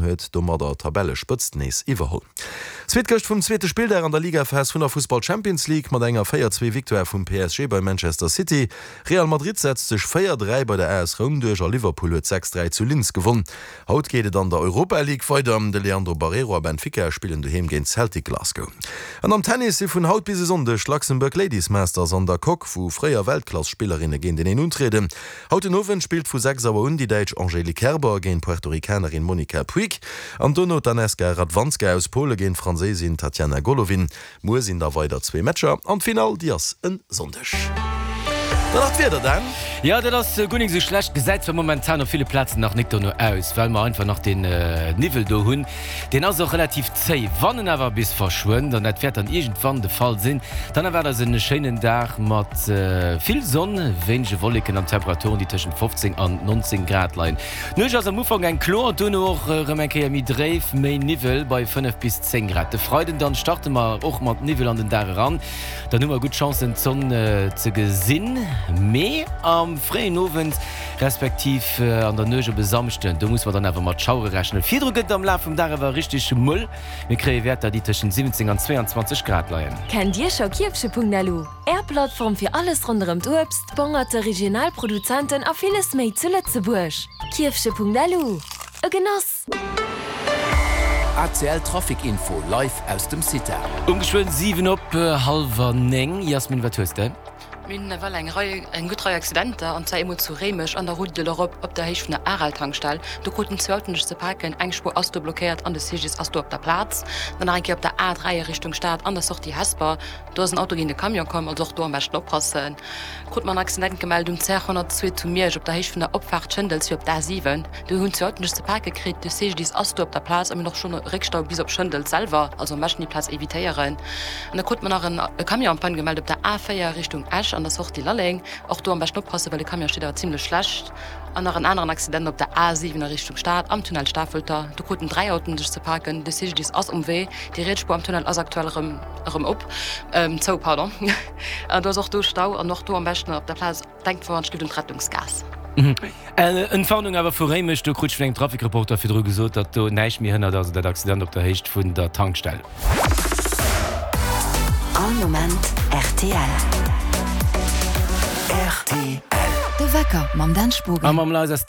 huet domadder d'Tabellespëtzt nees iwwerholl. Zweet Gëscht vum zweete Spilldag an der Ligaphas vun der Fussball Champions League mat enger 4, 2 Victoire vum PSG bei Manchester City. Real Madrid setzt sech 4, 3 bei der AS Roum duerch a Liverpool huet 6, 3 zu Linz gewonn. Haut geet et an der Europa League weider. De Leandro Barreiro a Benfica spillen doheem géint Celtic Glasgow. An am Tennis si vun haut bis e Sonndeg d'Luxembourg Ladies Masters an der Coque, wou fréier Weltklass-Spillerinne géinteneen untrieden. Haut den Owend spillt vu 6 Auer un déi Däitsch Angelique Kerber géint d'Puerto-Ricanerin Monica Puig an dono d'Aneska Radwanska aus Pole géint d'Franséisin Tatiana Golovin. Muer sinn da weider zwee Matcher an d'Finall déi ass en Sonndeg. Dann nach d'Wieder, Dan. Jo, dat ass guer nik esou schlecht. Gesäit zwar momentan op ville Plazen nach nik dono aus, well mer einfach nach den Niwwel do hunn. Deen ass och relativ zéi. Wann en awer bis verschwënnt, an dat wäert dann iergendwann de Fall sinn, dann erwaart eis en schéinen Dag mat vill Sonn, wéinege Wolleken an Temperaturen, déi tëschent 15 an 19 Grad leien. D'Nuecht ass am Ufank eng kloer, duerno och erëm eng Kéier méi dréif, méi Niwwel bei 5 bis 10 Grad. De Freiden dann starte mer och mat Niwwel an den Dag eran, dann hu mer gutt Chancen d'Sonn ze gesinn, mee am fréien Owend respektiv an der Nuecht op e Samschden, do musse mer dann awer mat Schauere rechnen. Virdru gëtt et am Laf vum Dag awer richteg mëll, mir kréie Wäerter déi tëschent 17 an 22 Grad leien. Kennt Dir scho Kierfche.lu, Är Plattform fir alles ronderëm d'Uebst, d'Bongerte, regional Produzenten a villes méi zu Lëtzebuerg? Kierfche.lu, e Genoss! ACL Trafic Info live aus dem CITA. Um geschwënn 7 op hallwer 9. Jasmin, wat hues de? Mir hunn nawell eng Rei, eng gutt Rei Accidenter, an zwar eemol zu Réimech an der Route de l'Europe op der Héicht vun der Aral-Tankstell. Do kruten zwou Autoen sech ze paken, eng Spuer ass do blockéiert an de CGDIS ass do op der Plaz. Dann nach eng Kéier op der A3 a Richtung Stad an der Sortie Hesper. Do ass en Auto géint e Camion komm, also och do am beschten oppassen. Krut mer en Accident gemellt um CR 102 zu Miersch op der Héicht vun der Opfaart Schëndels fir op d'A7. Do hunn zwou Autoen sech ze pake kritt. De CGDIS ass do op der Plaz a mir hunn och schonn e Réckstau bis op Schëndels selwer, also am beschten déi Plaz evitéieren. An da krut mer nach en e Camion en panne gemellt op der A4 Richtung Esch an der Sortie Lalleng. Och do am beschten oppassen, well de Camion steet awer zimmlech schlecht. An nach en aneren Accident op der A7 a Richtung Stad am Tunnel Stafelter. Do kruten 3 Autoen sech ze paken. De CGDIS ass um Wee. Déi riets Spuer am Tunnel ass aktuell erëm erëm op, zou, pardon. An do ass och do Stau an och do am beschten op der Plaz denkt voran, et un d'Rettungsgaass. Entwarnung awer vu Réimech, do krut ech vun engem Trafic-Reporter virdru gesot, datt do näischt méi hënnert, also dat Accident op der Héicht vun der Tankstell. All Moment rtl. Rtl. De Wecker mam Dan Spogen. A mam Liza.